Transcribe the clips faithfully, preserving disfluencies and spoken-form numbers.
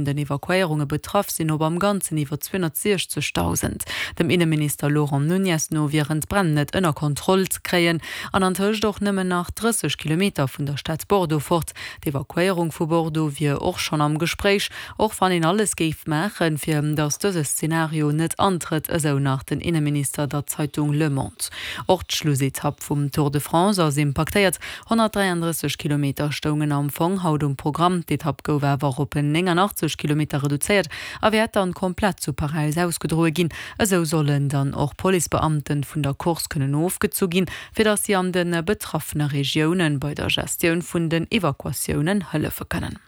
Den Evakuéierunge betraff sinn op am Ganzen iwwer zweehonnertsiechzegdausend. Dem Inneminister Laurent Nuñez no wieren d'Bränn net ënner Kontroll ze kréien an antëscht och nëmmen nach drësseg Kilometer vun der Stad Bordeaux fort. D'Evakuéierung vu Bordeaux wier och schonn am Gespréich, och wann een alles géif maachen, fir datt dëse Szenario net antrëtt, esou nach den Inneminister der Zeitung Le Monde. Och d'Schlussetapp vum Tour de France ass impaktéiert. honnertdräiandrësseg Kilometer stoungen am Fong haut um Programm, d'Etapp gouf awer op néngannachtzeg Kilometer reduzéiert a wäert dann komplett zu Paräis ausgedroe ginn. Esou sollen dann och Policebeamten vun der Course kënnen ofgezu ginn, fir datt si an de betraffene Regiounen bei der Gestioun vun den Evakuatiounen hëllefe kënnen.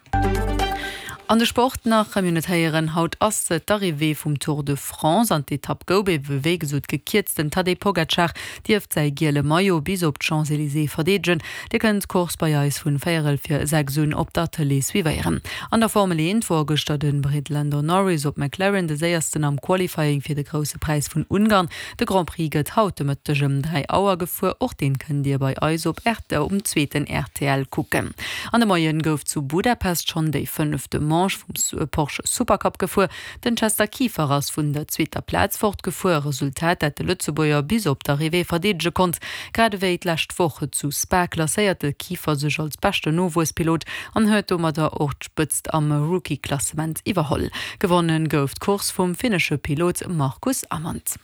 An de Sport nach, Mir hunn et héieren, haut ass d'Arrivée vum Tour de France an d'Etapp gouf ebe wéi gesot gekierzt. Den Tadej Pogacar dierft säi giele Maillot bis op d'Champs-Elysées verdeedegen. Dir kënnt d'Course bei eis vun véierel vir sechs un op der Tëlee suivéieren. An der Formel eent wor gëschter de Brit Lando Norris op McLaren de séiersten am Qualifying fir de Grousse Präis vun Ungarn. De Grand Prix gëtt haut de Mëtteg ëm dräi Auer gefuer. Och deen kënnt Dir bei eis op um zweeten rtl kucken. An de Moien gouf zu Budapest schonn déi fënnefte Manche vum Porsche Supercup gefuer. Den Chester Kieffer ass vun der zweeter Plaz fortgefuer, e Resultat, dat de Lëtzebuerger bis op d'Arrivée verdeedege konnt. Grad ewéi d'lescht Woch zu Spa klasséiert de Kieffer sech als beschten Nowuesspilot an huet domadder och d'Spëtzt am Rookie-Klassement iwwerholl. Gewonnen gouf d'Course vum finnesche Pilot Marcus Amand.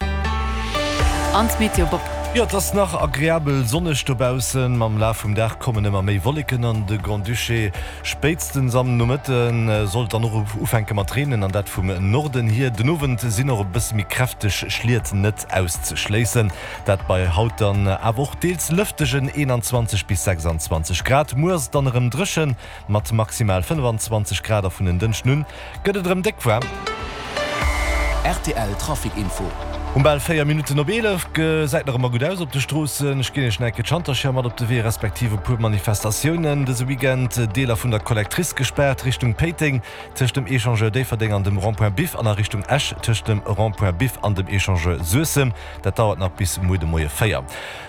An d'Meteo Bob. Jo, et ass nach agreabel sonneg dobaussen. Mam Laf vum Dag kommen ëmmer méi Wolleken an de Grand-Duché. Spéitstens am Nomëtte soll et dann och ufänke mat reenen, an dat vum Norden hier. Den Owend sinn och e bësse méi kräfteg Schliet net auszeschléissen. Dat bei haut dann awer och deels lëftegen eenanzwanzeg bis sechsanzwanzeg Grad. Muer ass et dann erëm dréchen mat maximal fënnfanzwanzeg Grad a vun en Dënschden un gëtt et erëm déck waarm. Rtl Trafic Info. Um bal véier Minutten op eelef gesäit nach ëmmer gutt aus op de Stroossen. Ech ginn Iech nach eng Kéier d'Schantercher mat op de Wee, respektiv e puer Manifestatiounen dëse Weekend. Deeler vun der Collectrice gespaart, Richtung Péiteng tëscht dem Echangeur Déifferdeng an dem Rond-point Biff an a Richtung Esch tëscht dem Rond-point Biff an dem Echangeur Suessem. Dat dauert nach bis muer de Moie véier.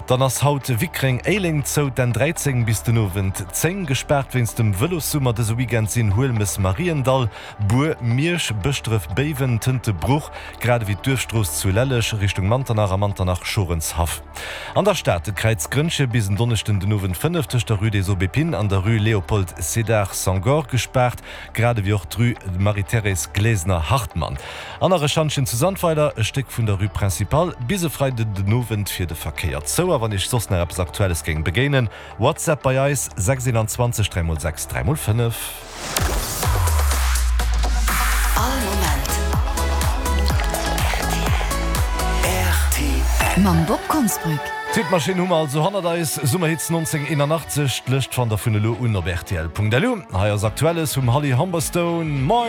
Dann ass haut Wickreng-Éileng zou, d'N dräizéng bis den Owend zéng gespaart wéinst dem Vëlossummer. Dëse Weekend sinn Huelmes-Mariendall, Bur, Miersch, Bëschdref, Béiwen, Tëntebruch, grad ewéi d'Duerfstrooss zu Lelleg Richtung Manternach a Manternach-Schorenshaff. An der Stad de Kräiz Grënnche bis en Donneschden den Owend fënnef tëscht der Rue des Aubépines an der Rue Léopold Sédar Senghor gespaart, grad ewéi och d'Rue Marie-Thérèse Glesener-Hartmann. An nach e Schantjen zu Sandweiler, e Stéck vun der Rue Principale bis e Freiden den Owend fir de Verkéier zou. A wann Iech soss nach eppes Aktuelles géing begéinen, WhatsApp bei eis, sechs eenanzwanzeg dräi mol sechs dräi mol fënnef. All Moment rtl. Mam Bob Konsbrück. D'Hitmaschinn hu mer also hannert eis, Summerhits nonzénhunnerteenanachtzeg, d'Lëscht fannt der vun elo un op rtl Punkt lu. Hei ass Aktuelles vum Holly Humberstone. Moin!